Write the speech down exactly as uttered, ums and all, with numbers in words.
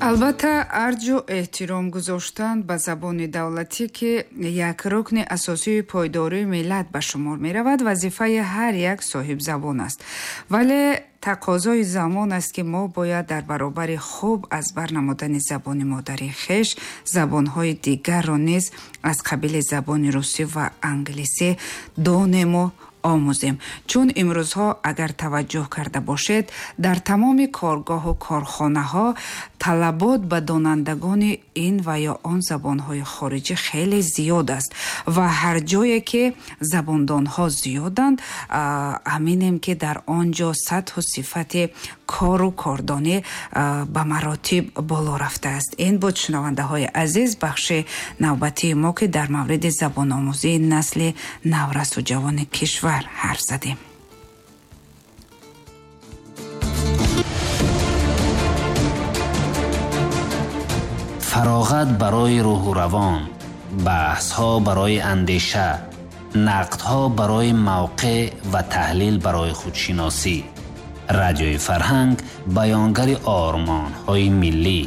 Албатта, арҷу эҳтиром гузоштан ба забони давлатӣ, ки як рукни асосии пойдории миллат ба шумор меравад, вазифаи ҳар як соҳибзабон аст. Вале тақозои замон аст, ки мо бояд дар баробари хуб аз бар намудани забони модарии хеш забонҳои дигарро низ аз қабили забони русӣ ва англисӣ донему омӯзем. Чун имрӯзҳо, агар таваҷҷӯҳ карда бошед, дар тамоми коргоҳу корхонаҳо талабот ба донандагони ин ва ё он забонҳои хориҷӣ хеле зиёд аст ва ҳар ҷое ки забондонҳо зиёданд, аминем, ки дар он ҷо сатҳу сифати кору кордонӣ ба маротиб боло рафтааст. Ин буд, шунавандаҳои азиз, бахши навбатии мо, ки дар мавриди забономӯзии насли наврасу ҷавони кишвар ҳарф задем. Фароғат барои рӯҳу равон, баҳсҳо барои андеша, нақдҳо барои мавқеъ ва таҳлил барои худшиносӣ. Радиои Фарҳанг баёнгари ормонҳои миллӣ.